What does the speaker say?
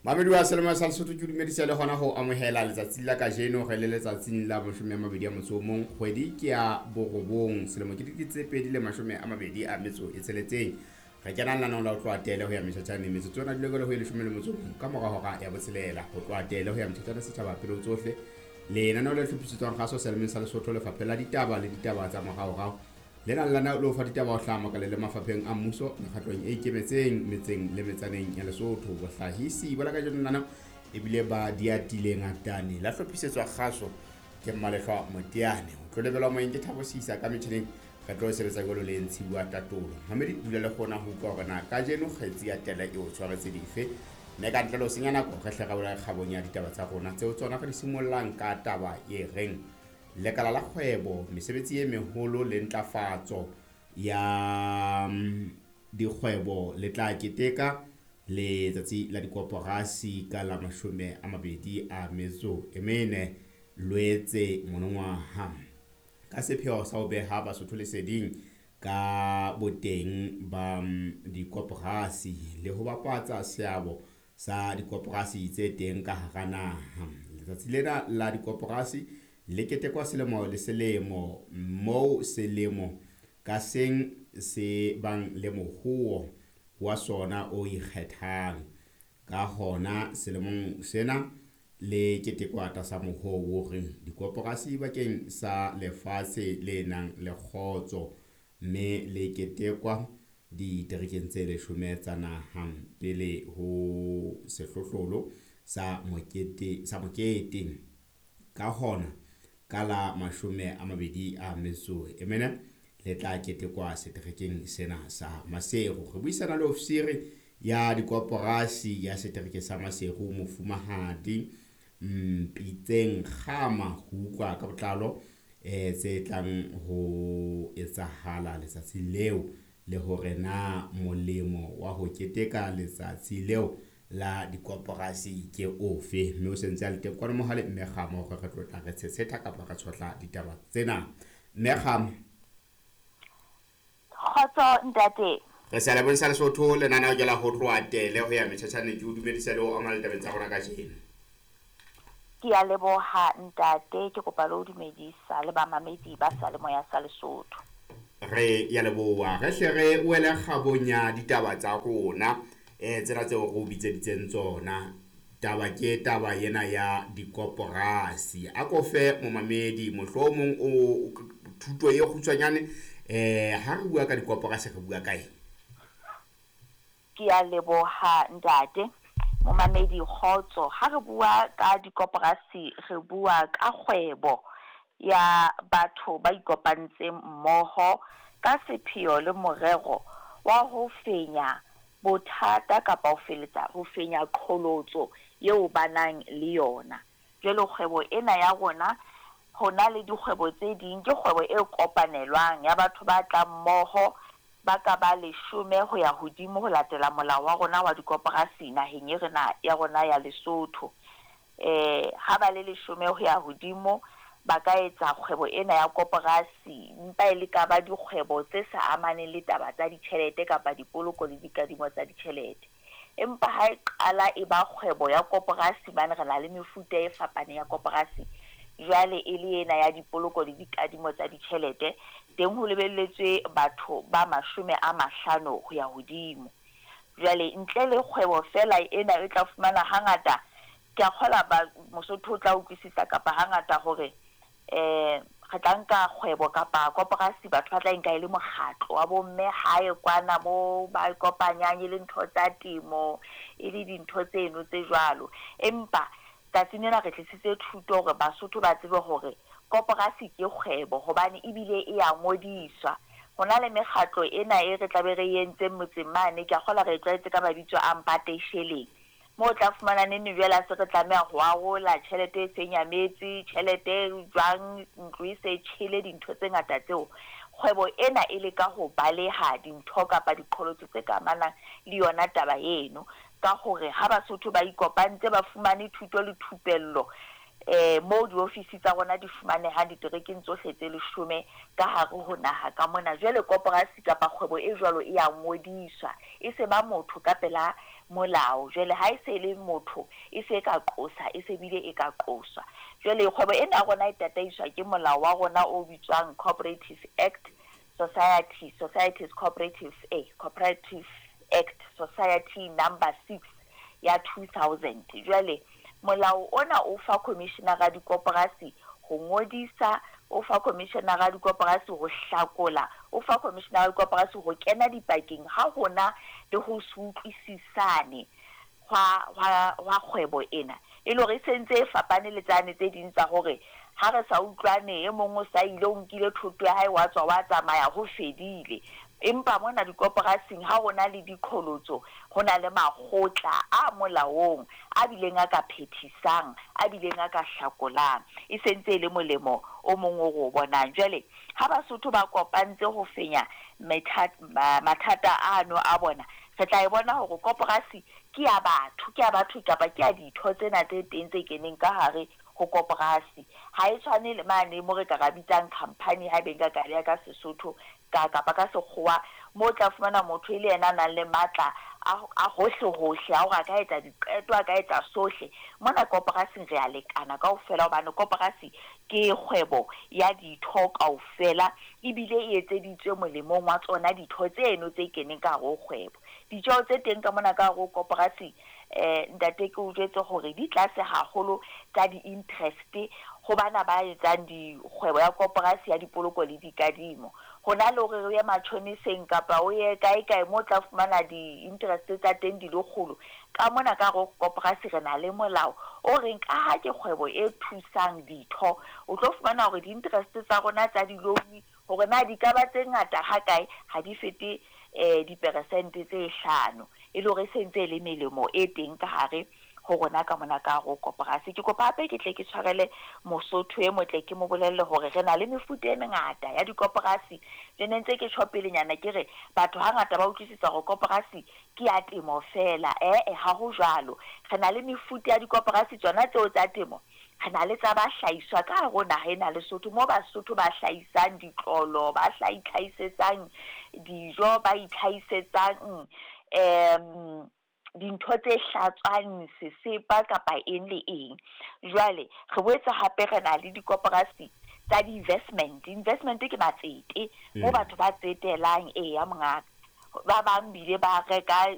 Mamedi wa Selemo sa Lesotho, ke dumedisa le hona ho amohela letsatsi la kajeno. Re le letsatsing la 21 kgwedi ke ya 9, selemo ke 2026. Re kena lenaneong la ho tloha tele ho ya metjhatjhaneng. Metsotso yona dile ho e 11 ka mora hora ya 6. Ho tloha tele ho ya metjhatjhane setjhaba pele ho tsohle. Lenaneo le hlophisetswang kgaso Selemeng sa Lesotho, Lefapha la Ditaba le Ditaba tsa Moraorao. Lena lenaneo le o fa ditaba ho hlaha makaleng le mafapheng a mmuso, mekgatlong e ikemetseng, metseng le metsaneng ya Lesotho. Bohlahisi ba la kajeno lenaneo ebile ba diatile ngatane la hlophisetswa kgaso ke Mmalehlwa Moteane. Ho tlo lebelwa moyeng ke Thabo Sisa, ka metjhineng re tlo sebetsa jwalo le Ntshiwa Tatolo. Mamedi, dula le kgona ho utlwa hore na kajeno kgetsi ya tele e o tshwaretse dife. Mme ka ntle le ho senya nako, re hle re bolela kgabong ya ditaba tsa rona tseo tsona re di simollang ka taba e reng lekala la kgwebo, mesebetsi e meholo le ntlafatso ya dikgwebo le tla keteka letsatsi la dikoporasi ka la 24 Loetse monongwaha, ka sepheo sa ho beha Basotho leseding ka boteng ba dikoporasi le ho bapatsa seabo sa dikoporasi tse teng ka hara naha. Letsatsi lena la dikoporasi le ketekwa selemo le selemo, moo selemo ka seng se bang le mohoo wa sona o ikgethang. Ka hona selemong sena le ketekwa tlasa mohoo o reng dikoporasi bakeng sa lefatshe le nang le kgotso, mme le ketekwa diterekeng tse 10 tsa naha pele ho sehlohlolo sa mokete sa mokete. Ka hona ka la 24 le tla ketekwa seterekeng sena sa Maseru. Re buisana le ofisiri ya dikoporasi ya setereke sa Maseru, Mofumahadi Mpitseng Kgama, ho utlwa ka botlalo tse tlang ho etsahala letsatsing leo, le hore na molemo wa ho keteka letsatsi leo la dikoporasi ke ofe. Mme o sentse a le teng kwano mohale Mme Kgama, hore re tlo tla re tshetsheta kapa re tshohla ditaba tsena. Mme Kgama. Kgotso ntate. Re sa lebong sa Lesotho, lenaneo ke la ho tloha tele ho ya metjhatjhaneng. Ke o dumedisa le ho amana ditabeng tsa rona kajeno. Ke a leboha ntate, ke kopa le ho dumedisa le bamamedi ba Seyalemoya sa Lesotho. Re ya leboha. Re hle re wele kgabong ya ditaba tsa rona, tsena tseo re o bitseditseng tsona. Taba ke taba ena ya dikoporasi. A ko fe momamedi mohlomong o thuto e kgutshwanyane, ha re bua ka dikoporasi re bua ka eng? Ke a leboha ntate. Momamedi kgotso, ha re bua ka dikoporasi re bua ka kgwebo ya batho ba ikopantseng mmoho ka sepheo le morero wa ho fenya bothata kapa ho feletsa ho fenya qholotso eo ba nang le yona. Jwale kgwebo ena ya rona, hona le dikgwebo tse ding, ke kgwebo e kopanelwang ya batho ba tlang mmoho ba ka ba 10 ho ya hodimo ho latela molao wa rona wa dikoporasi naheng e rena ya rona ya Lesotho. Ha ba le 10 ho ya hodimo ba ka etsa kgwebo ena ya koporasi, mpa e le ka ba dikgwebo tse sa amaneng le taba tsa ditjhelete kapa dipoloko le dikadimo tsa ditjhelete. Empa ha e qala e ba kgwebo ya koporasi, bane re na le mefuta e fapaneng ya koporasi, jwale e le ena ya dipoloko le dikadimo tsa ditjhelete, teng ho lebelletswe batho ba 50 ho ya hodimo. Jwale ntle le kgwebo fela ena e tla fumana hangata, ke a kgola ba Mosotho o tla utlwisisa kapa hangata hore re tla nka kgwebo kapa koporasi, batho ba tla nka e le mokgatlo wa bomme hae kwana mo ba kopanyang, e le ntho tsa temo, e le dintho tseno tse jwalo. Empa tsatsing lena re tlisitse thuto hore Basotho ba tsebe hore koporasi ke kgwebo, hobane ebile e ya ngodiswa. Hona le mekgatlo ena e re tlabe re entseng motseng mane, ke a kgola re e tlwaetse ka mabitso a mpateisheleng, moo o tla fumana nene jwale a se re tlameha ho arola tjhelete e seng nyametse, tjhelete e jwang, ntlo e se tjhele, dintho tse ngata tseo. Kgwebo ena e leka ho baleha dintho kapa diqholotso tse ka amanang le yona taba eno, ka hore ha Basotho ba ikopantse ba fumane thuto le thupello moo diofisi tsa rona di fumanehang diterekeng tsohle tse 10 ka hare ho naha ka mona. Jwale koporasi kapa kgwebo e jwalo e ya ngodiswa, e se ba motho ka pela molao. Jwale ha e se le motho, e se e ka qosa, e se bile e ka qoswa. Jwale kgwebo ena ya rona e tataiswa ke molao wa rona o bitswang Cooperative Act Society, Societies Cooperative, Cooperative Act Society Number 6 ya 2000. Jwale molao ona o fa commissioner dikoporasi ho ngodisa, o fa commissioner dikoporasi ho hlakola, o fa commissioner dikoporasi ho kena dipakeng ha hona le ho se utlwisisane hwa kgwebo ena. E le hore e sentse e fapane le tsane tse ding tsa hore ha re sa utlwane, e mong o sa ile, o nkile thoto ya hae, wa tswa wa tsamaya, ho fedile. Empa mona dikoporasing ha hona le diqholotso, ho na le makgotla a molaong a bileng a ka phethisang, a bileng a ka hlakolang. E sentse e le molemo o mong o re o bonang. Jwale ha Basotho ba kopantse ho fenya mathata ano a bona, re tla e bona hore koporasi ke ya batho, ke ya batho kapa ke ya ditho tsena tse teng tse keneng ka hare ho koporasi. Ha e tshwane le mane mo re ka ra bitsang company, ha ebe nka ka beha ka Sesotho kapa ka Sekgowa, mo tla fumana motho e le yena a nang le matla a hohle hohle, a hore a ka etsa diqeto, a ka etsa sohle. Mona koporasing re a lekana kaofela, hobane koporasi ke kgwebo ya ditho kaofela, ebile e etseditswe molemong wa tsona ditho tseno tse keneng ka hare ho kgwebo. Ditjeho tse teng ka mona ka hare ho koporasi, ntate, ke o jwetse hore di tlase haholo tsa di-interest ho bana ba etsang dikgwebo ya koporasi ya dipoloko le dikadimo. Hona le hore o ye matjhoniseng kapa o ye kae kae mo tla fumana di-interest tsa teng di le kgolo, ka mona ka hare ho koporasi re na le molao o reng ka ha ke kgwebo e thusang ditho, o tlo fumana hore di-interest tsa rona tsa di-loan, hore na di ka ba tse ngata ha kae, ha di fete diperesente tse 5, e le hore e sentse e le melemo e teng ka hare ho rona ka mona ka hare ho koporasi. Ke kopa hape ke tle ke tshwarele Mosotho e motle, ke mo bolelle hore re na le mefuta e mengata ya dikoporasi. Le ne ntse ke tjho pelenyana ke re batho hangata ba utlwisisa hore koporasi ke ya temo fela. Ha ho jwalo. Re na le mefuta ya dikoporasi tsona tseo tsa temo. Re na le tsa bahlahiswa ka hare ho naha ena Lesotho, mo Basotho ba hlahisang ditlolo, ba itlhahisetsang dijo, ba itlhahisetsang dintho tse hlatswang sesepa kapa eng le eng. Jwale re boetse hape re na le dikoporasi tsa di-investment. Investment ke matsete, mo batho ba tsetelang, eya mongaka. Ba bang bile ba reka